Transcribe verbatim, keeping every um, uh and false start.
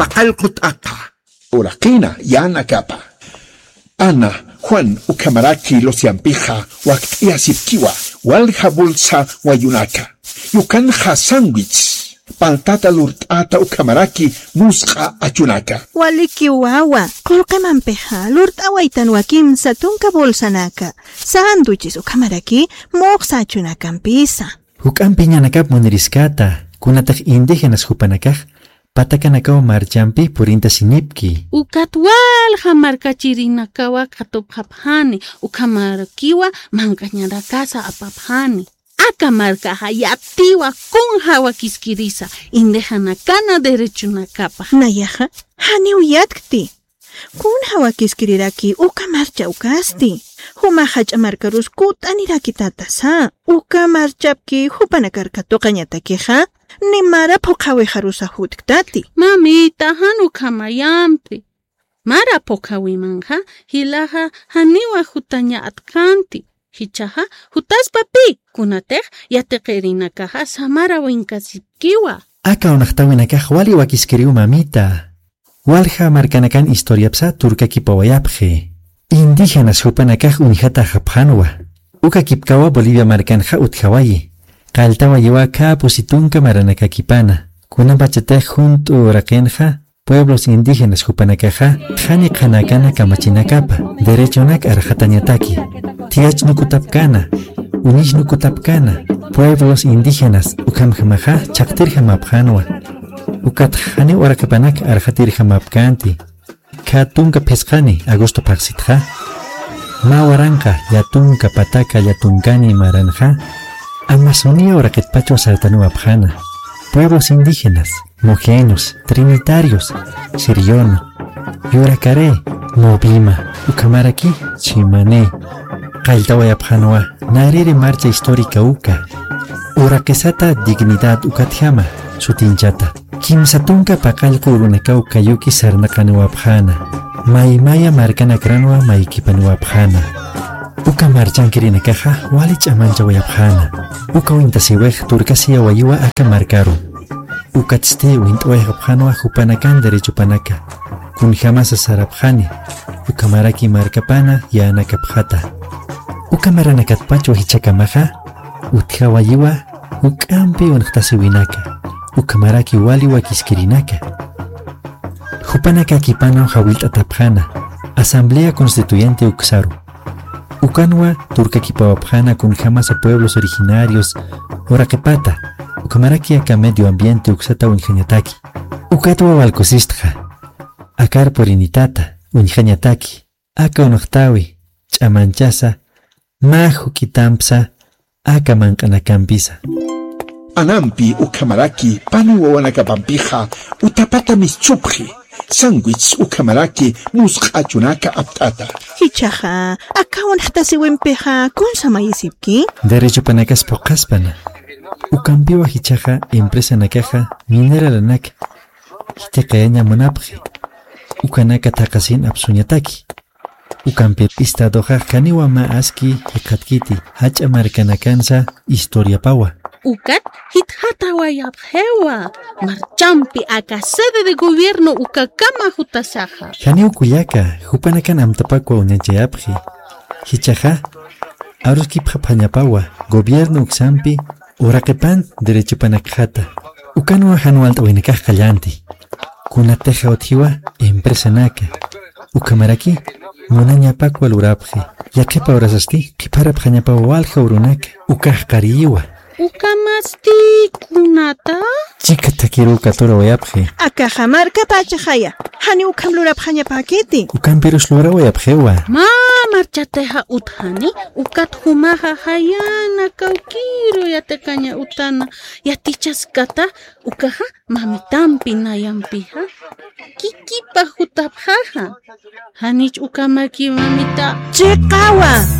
aqallqu t'aqa. Uraqina, yänakapa. Ana, Juan, ukhamaraki Luciampixa wakt'ayasipkiwa, walja bolsa wayunaka. Yukanxa sándwich, paltata lurt'ata ukhamaraki musq'a achunaka. Waliki wawa, qullqimampixa lurt'awaytanwa kimsa tunka bolsanaka, sándwiches ukhamaraki muxsa achunakampisa. Juk'ampi ñanakap muniriskata, kunatix indígenas jupanakax patakanakaw marchampi purintasinipki. Ukat walja markachirinakawa katupxapxani, ukhamarakiwa manq'añarakasa apapxani. Aka markaxa yatiwa kunja wakiskirisa, indígenakana derechonakapa. Nayaxa, janiw yatkti. Kunja wakiskiriraki uka marcha ukasti. Juma jach'a markarus kut'anirakitätasa. Uka marchapki jupanakar katuqañatakixa, ni mara phuqhawixarusa jutktati. Mamita, jan ukhamayampi. Mara phuqhawimanxa, jilaxa janiwa jutaña atkanti. Jichhaxa, jutaspa pï, kunatix yatiqirinakaxa samara winkasipkiwa. Aka unaxtawinakax wali wakiskiriw, mamita. Walja markanakan historiapsa turkakipawayapxi. Indígenas jupanakax uñjataxapxanwa. Ukakipkawa Bolivia markanxa utjawayi. Qalltawayiwa khä pusi tunka maranakakipana. Kunapachatix junt'u uraqinxa pueblos indígenas jupanakaxa qhani qhanakana kamachinakapa derechonak arxatañataki. Thiyachnu kutapkana, uñichnu kutapkana, pueblos indígenas ukhamjamaxa chhaqtirjamapxänwa. Ukat janiw uraqipanak arxatirjamapkänti. Khä tunka phisqani agosto phaxsitxa, mä waranqa llätunka pataka llätunkani maranxa Amazonia uraqitpachwa sartanuwapxäna. Pueblos indígenas, mojeños, trinitarios, siriono, yurakaré, movima, ukhamaraki chimani. Qalltawayapxänwa nariri marcha histórica uka. Uraqisata dignidad ukatjama sutinchata. Kimsa tunka paqallqu urunakaw kayuki sarnaqaniwapxäna. Maymaya markanakranwa maykipaniwapxäna. Uka marchankirinakaxa wali ch'amanchawayapxäna. Uka wintasiwix turkasiyawayiwa aka markaru. Ukatsti wint'awayxapxänwa jupanakan derechopanaka. Kunjamasa sarapxani, ukhamaraki markapana yänakapxata. Uka maranakatpachwa jichhakamaxa utjawayiwa juk'ampi uñjtasiwinaka, ukhamaraki wali wakiskirinaka. Jupanakakipanaw jawillt'atapxäna Asamblea Constituyente uksaru. Ukanwa turkakipawapxäna kunjamasa pueblos originarios uraqipata, ukhamaraki aka medio ambiente uksata uñjañataki. Ukatwa wal kusistxa, akar purinitata uñjañataki. Aka uñjtawi ch'amanchasa, mä juk'itampsa, aka manq'anakampisa. Anampi ukhamaraki pani wawanakapampixa utapata mischupxi, sándwich ukhamaraki musq'a achunaka apt'ata. Jichhaxa, aka uñjtasiwimpixa kunsa mayisipki? Derechopanakas phuqhaspana. Ukampiwa jichhaxa empresanakaxa mineralanak jithiqayaña munapxi. Ukanaka thaqhasin apsuñataki. Ukampi estadoxa janiwa mä aski jikxatkiti, jach'a markanakansa historiapawa. Ukat jitxatawayapxiwa, marchampi aka sede de gobierno ukakama jutasaxa. Janiw kullaka, jupanakan amtapakwa uñachayapxi. Jichhaxa, aruskipxapxañapawa, gobierno uksampi, uraqipan derechopanakxata. Ukanwa jan walt'awinakax qalltanti. Kunatixa utjiwa empresanaka. Ukhamaraki munañapakwa lurapxi. Yaqhipa urasasti qhipharapxañapawa walja urunaka. Ukax qariyiwa. Ukhamasti kunata? Chika thakiruw katurawayapxi. Akaxa markapachaxaya. Janiw ukham lurapxañapäkiti. Ukampirus lurawayapxiwa. Mä marchatixa utjani, ukat jumaxa jayana kawkiru yatiqaña utana yatichaskata, ukaxa mamitampi nayampixa kikipa jutapxaxa. Janich ukhamaki, mamita. Chiqawa,